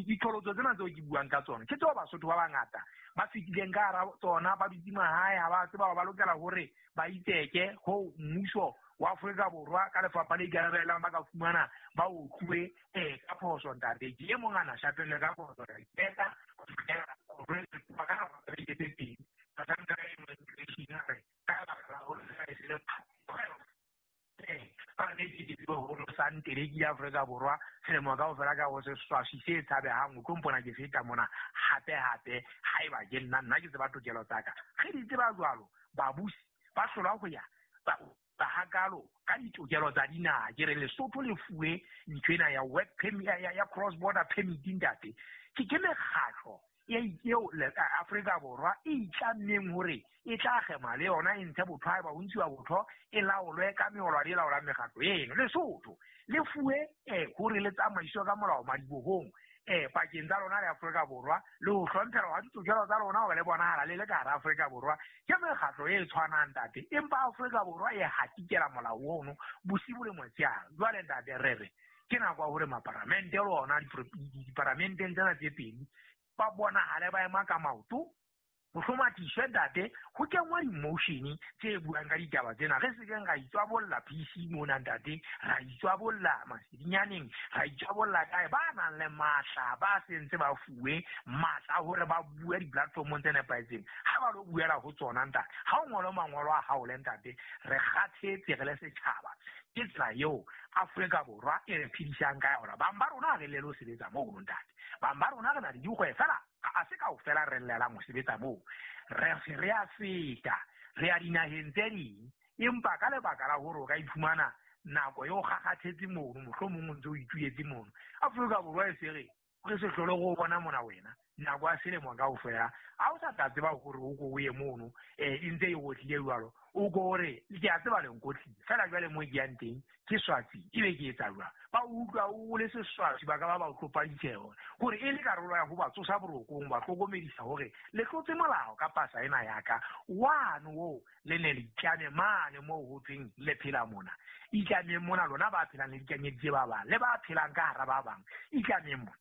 S2: diqholotso tsena tseo ke buang ka tsona ke tseo Basotho ba bangata ba fetileng ka hara tsona, ba dutse mahae, ha ba tseba ba lokela hore ba itseke ho mmuso wa Afrika Borwa ka lefapha le ikarabellang ba ka fumana ba otluwe ka phoso ntate. Ke e mong a na shapelwe ka phoso, ka ipeta ho fihlela ka nako tsa beke tse pedi. Bahlanka ba immigration a re ka lebaka la hore e se le ke Afrika Borwa selemo kaofela ka ho seswaswi se tshabehang, o tlo mpona ke feta mona hape hape. Haeba ke nna nna ke tseba tokelo tsa ka, re di tseba jwalo. Babusi ba hlolwa ho ya ba hakalo ka ditokelo tsa dinaha. Ke re Lesotho le fuwe ntho ena ya work permit ya cross border permit ntate. Ke mekgatlo eo Afrika Borwa e itlammeng hore e tla kgema le yona e ntshe botho haeba ho ntshiwa botho e laolwe ka meolwane e laolang mekgatlo eno. Lesotho le fuwe hore le tsamaiswe ka molao madibohong pakeng tsa lona le Afrika Borwa le ho hlomphelwa ha ditokelo tsa lona hore le bonahala le le ka hara Afrika Borwa. Ke mekgatlo e tshwanang ntate, empa Afrika Borwa e hatikela molao ono bosibu le motshehare. Jwale ntate re re ke nako ya hore maparamente le ona diparamenteng tsena tse pedi ba bonahale ba ema ka maoto, ho hlomathiswe ntate, ho kenngwe di-motion tse buang ka ditaba tsena. Re sekeng ra itswabolla PC mona ntate, ra itswabolla masedinyaneng, ra itswabolla kae. Ba nang le matla ba sentse ba fuwe matla hore ba bue di-platformong tse nepahetseng, ha ba lo buela ho tsona ntate. Ha o ngole mangolo a hao le ntate, re kgathetse re le setjhaba. Ke tsela eo Afrika Borwa e re phedisang ka yona. Bang ba rona ha re llele ho sebetsa mono ntate, bang ba rona re na le dikgwebo fela, a se kaofela re llelang ho sebetsa moo. Re se re a feta, re ya dinaheng tse ding, empa ka lebaka la hore o ka iphumana nako eo kgakgathetse mono, mohlomong o ntse o ituletse mono. Afrika Borwa e se re re se hlole go bona mona wena nako ya selemo kaofela, ha o sa tla tseba hore o ko o ye mono, e ntse e otlile jwalo, o ko hore ke a tseba le nkotlile fela. Jwale mo ke yang teng ke swatsi, ebe ke etsa jwang? Ba utlwa o le seswatsi, ba ka ba ba tlopa ditjheho hore e le karolo ya ho ba tsosa borokong, ba hlokomedisa hore le tlotse molao ka pasa ena ya ka. Wano oo le ne le itlame mane moo ho thweng le phela mona, itlameng mona lona ba phelang le dikanyeditse ba bang le ba phelang ka hara ba bang, itlameng mona.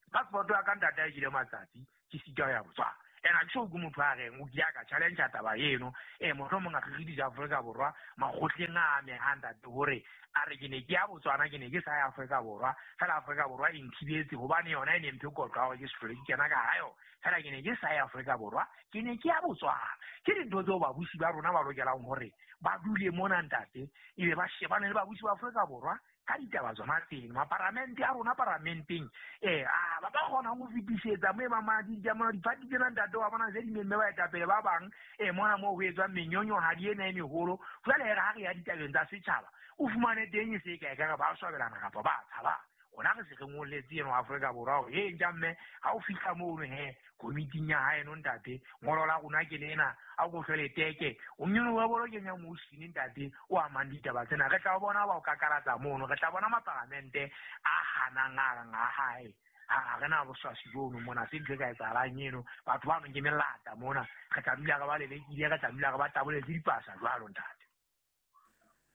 S2: Passport ya ka ntate a kile matsatsi ke sita ho ya Botswana. Ene ha ke so utlwe motho a reng o kile a ka challenge taba eno. Mohlomong a kgikgidisa Afrika Borwa makgotleng a amehang ntate hore a re ke ne ke ya Botswana, ke ne ke sa ya Afrika Borwa, fela Afrika Borwa e nthibetse hobane yona e ne mphe kotlo ya hore ke se hlole ke kena ka hara yona. Fela ke ne ke sa ya Afrika Borwa, ke ne ke ya Botswana. Ke dintho tseo babusi ba rona ba lokelang hore ba dule mona ntate, ebe ba shebane le babusi ba Afrika Borwa ka ditaba tsona tseno. Maparamente a rona paramenteng, ba ba kgonang ho fetisetsa mo e bang diphathi tsena ntate wa bona tse di memme baetapele ba bang, mona moo ho etswang menyonyohadi ena e meholo. Jwale ha re ya ditabeng tsa setjhaba, o fumane teng e se e kae ka re ba swabelana kapa ba tshaba. Rona re se re ngolletse eno Afrika Borwa hore e ntja mme ha o fihla mono he komiting ya haeno ntate, ngolo la rona ke lena, a ko hlwele teke, o mmino wa bolo kenya motion ntate o amang ditaba tsena. Re tla bona ba o kakaratsa mono, re tla bona maparamente a hanang a reng a hae. Ha re na boswasi bono mona, se ntho e ka etsahalang eno. Batho bano ke melata mona, re tla dula re ba lelekile, re tla dula re ba taboletse dipasa jwalo ntate.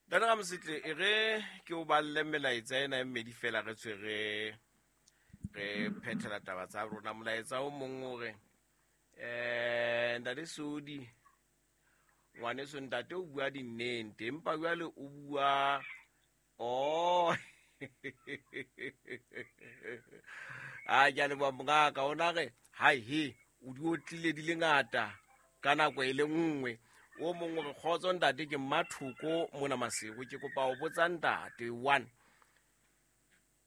S1: Ntate Ramosetle, e re ke o balle melaetsa ena e mmedi fela re tswe re phethela taba tsa rona. Molaetsa o mong o re, Ntate Sodi, ngwaneso ntate o bua dinnete, empa jwale o bua a ke a leboha mongaka, ona re hai he o di otlile di le ngata ka nako e le nngwe. O mong o re kgotso ntate, ke Mmathoko mona Maseru, ke kopa ho botsa ntate one,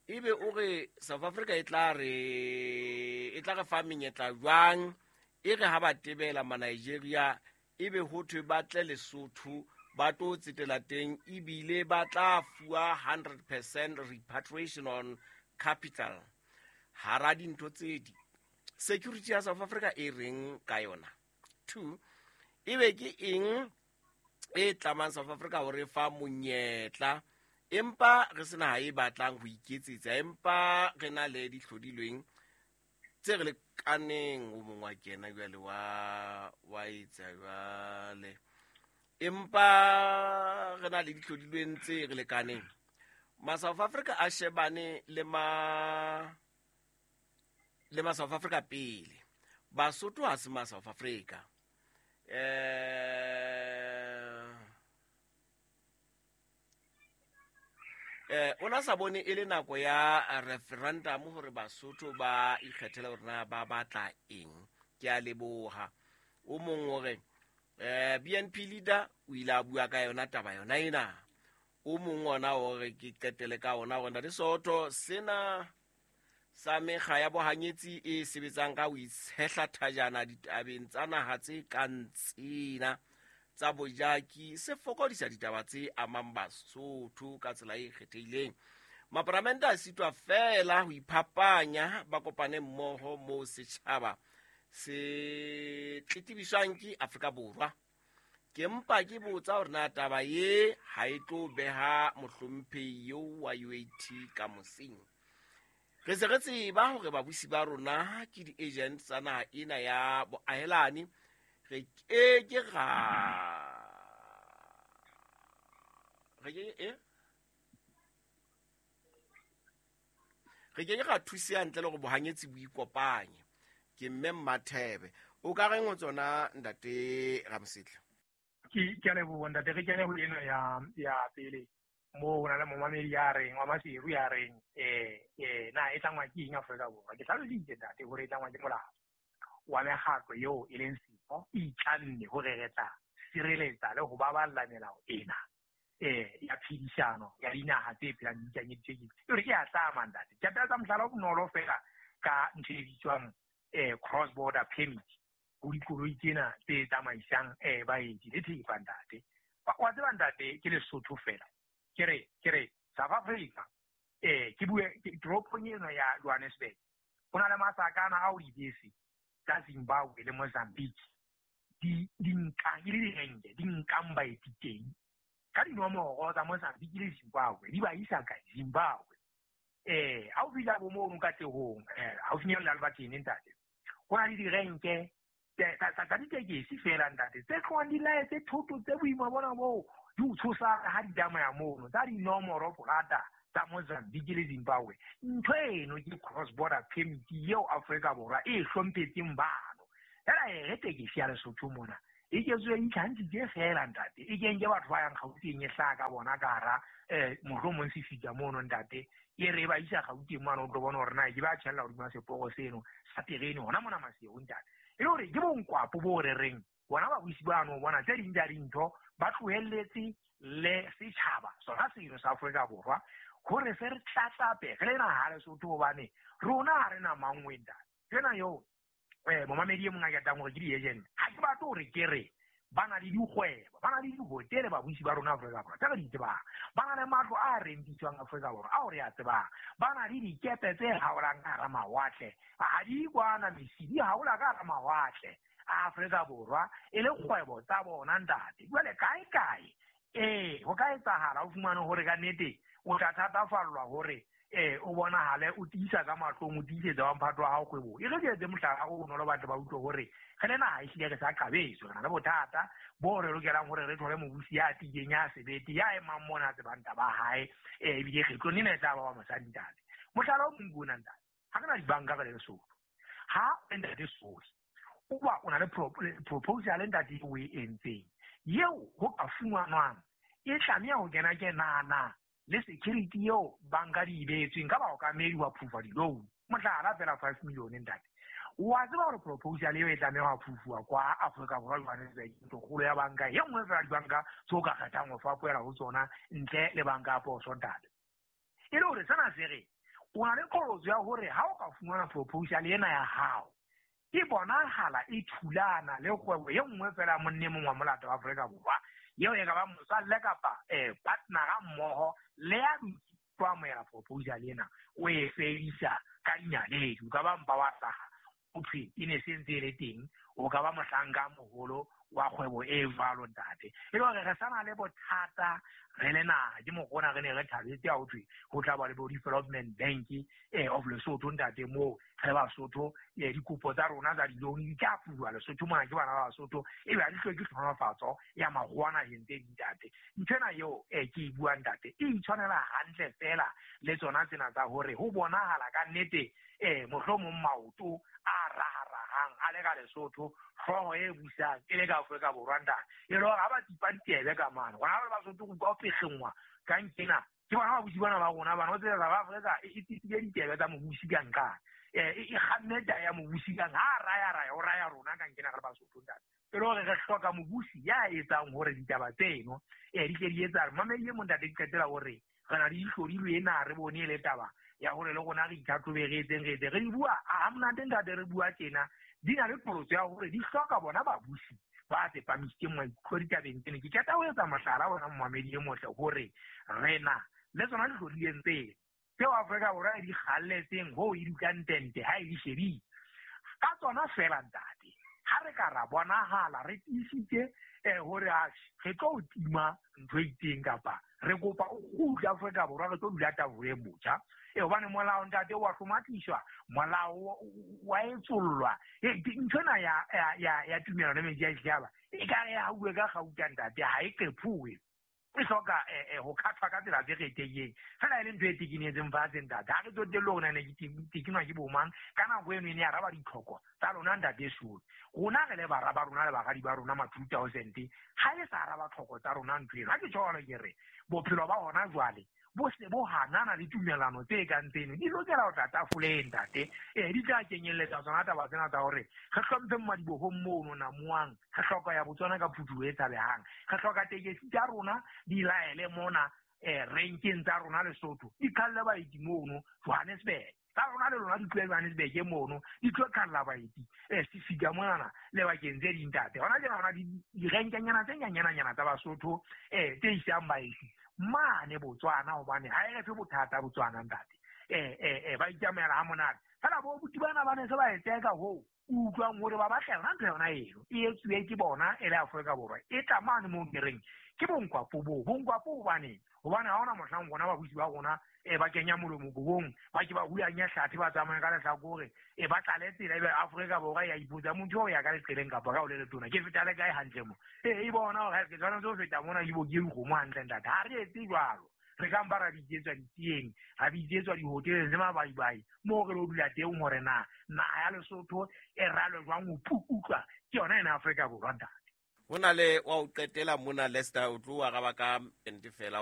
S1: ebe o re South Africa e tla re fa menyetla jwang e re ha ba tebela ma Nigeria ebe ho thwe ba tle Lesotho ba tlo tsetela teng, ebile ba tla fuwa 100% repatriation on Capital hara dintho tse di security ya South Africa e reng ka yona? 2, ebe ke eng e tlamang South Africa hore fa monyetla empa re sena ha e batlang ho iketsetsa, empa re na le dihlodilweng tse re lekaneng? O mongwe wa kena jwale wa etsa jwale, empa re na le dihlodilweng tse re lekaneng. Ma South Africa a shebane le ma South Africa pele. Basotho ha se ma South Africa. Ona sa bone e le nako ya referendum hore Basotho ba ikgethele hore na ba batla eng. Ke a leboha. O mong hore BNP leader o ile a bua ka yona taba yona ena. O mong ona hore ke qetele ka ona hore Ntate Sootho, sena sa mekga ya bohanyetsi e sebetsang ka ho itshehla thajana ditabeng tsa naha tse kang tsena tsa bojaki se fokodisa ditaba tse amang Basotho ka tsela e kgethehileng. Maparamente a sitwa feela ho iphapanya, ba kopane mmoho moo setjhaba se tletebiswang ke Afrika Borwa. Ke mpa ke botsa hore na taba ye ha e tlo beha mohlomphehi eo wa UAT ka mosing. Re se re tseba hore babusi ba rona ke di-agent tsa naha ena ya boahelani. Re ke ke ra re ke e re ke ra thuseha ntle le hore bohanyetsi bo ikopanye. Ke mme Mmathebe. O ka reng ho tsona Ntate Ramosetla?
S2: Ke a leboha ntate. Re kene ho ena ya pele moo ho na le momamedi ya reng wa Maseru ya reng na e tlangwa ke eng Afrika Borwa. Ke hlalositse ntate hore e tlangwa ke molao wa mekgatlo eo e leng siko e itlanne hore re tla sireletsa le ho baballa melao ena ya phedisano ya dinaha tse phelang di ikanyeditswe ke hore ke a tlama ntate. Ke tla mohlala o bonolo fela ka ntho e bitswang cross border permit ho dikoloi tsena tse tsamaisang baeti le thepa ntate. Wa tseba ntate ke Lesotho fela. Ke re South Africa ke bue toropong ena ya Johannesburg ho na le masakana ao dibese tsa Zimbabwe le Mozambique di nkang e le direnke di nkang baeti teng ka dinomoro tsa Mozambique le Zimbabwe di ba isa kae Zimbabwe. Ha o fihla bo mono Katlehong haufinyana le Albertine ntate ho na le direnke tsa ditekesi fela ntate tse tlohang di laetse thoto tse boima bona boo di o tshosa ha di tsamaya mono tsa dinomoro polata tsa Mozambique le Zimbabwe. Ntho eno ke cross border permit eo Afrika Borwa e hlomphetseng bano. Fela e re tekesi ya Lesotho mona e ketswe e itlhantshitse fela ntate, e kenke batho ba yang Gauteng e hlaha ka bona ka hara mohlomong se fihla mono ntate, e re ba isa Gauteng mane o tlo bona hore na ke ba tjhella hodima seporo seno sa terene hona mona Maseru ntate. E le hore ke bonkwapo bo re reng bona babusi bano bona tse ding tsa dintho ba tlohelletse le setjhaba sona seno sa Afrika Borwa hore se re tlatlape re le naha Lesotho, hobane rona ha re na mangwe ntate. Tsena eo momamedi e mong a ketang hore ke di-agent, ha ke batle hore ke re ba na le dikgwebo, ba na le dihotele babusi ba rona Afrika Borwa tse re di tsebang, ba na le matlo a rentiswang Afrika Borwa ao re a tsebang, ba na le dikepe tse haolang ka hara mawatle, ha di kwana mesi di haola ka hara mawatle a Afrika Borwa e le kgwebo tsa bona ntate. Jwale kae kae ho ka etsahala o fumane hore ka nnete o tla thatafallwa hore o bonahale o tiisa ka mahlong, o tiisetsa wa mphato wa hao kgwebong. E re ke etse mohlala o bonolo batho ba utlwe hore re le naha ehlile re sa qabetswe, re na le bothata bo re lokelang hore re thole mobusi ya tiileng, ya sebete, ya emang mona a tsebang taba ya hae, ebile kgetlong lena e tla ba wa mosadi ntate. Mohlala o mong ke ona ntate, ha re na dibanka re le Lesotho, ha ntate Sohi o ba o na le proposal ntate o e entseng eo ho ka fumanwang e tlameha ho kena kenana le security eo banka di beetsweng ka baokamedi wa approve di-loan, mohlala fela 5 million ntate. Wa tseba hore proposal eo e tlameha ho approve kwa Afrika Borwa Johannesburg, ntlokgolo ya banka e nngwe fela dibanka tse o ka kgethang ho fapohela ho tsona ntle le banka ya poso ntate. E le hore sena se re o na le qholotso ya hore ha o ka fumana proposal ena ya hao e bonahala e thulana le kgwebo e nngwe fela monne mongwe wa molata wa Afrika Borwa eo e ka ba motswalle kapa partnera mmoho le ya Tlo amohela proposal ena, o e fedisa ka dinaledi, o ka ba mpa wa hlaha o thwe e ne se ntse e le teng, o ka ba mohlanka a moholo wa kgwebo e jwalo ntate. E le hore re sa na le bothata re le naha, ke mokgona re ne re thabetse ha ho thwe ho tla ba le bo Development Bank of Lesotho ntate, moo re Basotho dikopo tsa rona tsa di-loan di tla fuwa Lesotho mona ke bana ba Basotho, ebe ha di hloke tlhonolofatso ya makgowa naheng tse ding ntate. Nthwena eo ke e buang ntate e itshwanela hantle fela le tsona tsena tsa hore ho bonahala ka nnete mohlomong maoto a raharahang a le ka Lesotho, hlooho e busang e le ka Afrika Borwa ntate, e le hore ha ba tipa ditsebe ka mane gona ba Basotho go utlwa o petlengwa ka nkena ke bona babusi bana ba rona bana o tsela South Africa e tipile ditsebe tsa mobusi ka nqane, e kgamme taba ya mobusi kang ha raya raya o raya rona ka nkena re le Basotho ntate. E le hore re hloka mobusi ya etsang hore ditaba tseno di tle di etsahale. Mamedi e mong ntate, ke qetela hore re na le dihlodilwe ena, re bone e le taba ya hore le rona re itlhatlhobe, re etseng re etse re di bua ha monate ntate, re bua tjena di na le qholotso ya hore di hloka bona babusi ba tsepamisitseng maikutlo ditabeng tsena. Ke qeta ho etsa mohlala ona momamedi e motle hore re na le tsona dihlodileng tseo tseo Afrika Borwa e di kgalletseng hoo e dutlang tente ha e di shebile ka tsona fela ntate. Ha re ka ra bonahala re tiisitse hore re tlo tima ntho e itseng kapa re kopa o kgutle Afrika Borwa, re tlo dula tafoleng botjha, hobane molao ntate wa hlomatliswa, molao wa etsollwa. Ntho ena ya tumellano metsi ya ditjhaba e ka re ha uwe ka kgauta ntate, ha e qephuwe, e hloka ho khathwa ka tsela tse kgethehileng fela e le ntho e tekenetseng fatshe ntate. Ha re tsotelle hore na ke tekenwa ke bo mang ka nako eno, e ne araba ditlhoko tsa lona ntate Solo. Rona re le bara ba rona le baradi ba rona ma 2000, ha e sa araba tlhoko tsa rona ntho eno. Ha ke tjho ke re bophelo ba hona jwale bo se bo hanana le tumellano tse kang tseno, di lokela ho tla tafoleng ntate. Di tla kenyelletsa tsona taba tsena tsa hore re hlomphe madibohong mono namoang, re hloka ya Botswana ka phuthuho e tshabehang, re hloka tekesi tsa rona di laele mona renkeng tsa rona Lesotho, di khalle baeti mono Johannesburg, tsa rona le lona di tlohe Johannesburg mono di tlo khalla baeti sefika monana le bakeng tse ding ntate. Hona tjena hona direnkenyana tse nyanyananyana tsa Basotho tse isang baeti mane Botswana, hobane ha e re fe bothata Botswana ntate, ba itsamaela ha monate fela. Bo buti bana ba ne se ba eteka hoo o utlwang hore ba batla yona ntho yona eno e etsuwe ke bona e le Afrika Borwa, e tla mane moo ke reng ke bonkwapo boo bonkwapo. Hobaneng? Hobane ha hona mohlang rona babusi ba rona ba kenya molomo kobong, ba ke ba hulanya hlathe, ba tsamaye ka lehlakore, ba tlale tsela, ebe Afrika Borwa ya ipotsa motho o ya ka leqeleng kapa ka o le letona ke feta le kae hantle mo, e bona hore ke tshwanetse ho feta mona ke bo ke dikgomo hantle ntate. Ha re etse jwalo, re ka mpa ra bitsetswa ditieng, ra bitsetswa dihoteleng tse mabaibai moo re lo dula teng hore na naha ya Lesotho e ralwe jwang ho pukutlwa ke yona ena Afrika Borwa ntate.
S1: Ho na le wa o qetela mona Lester, o tlo araba ka ente fela.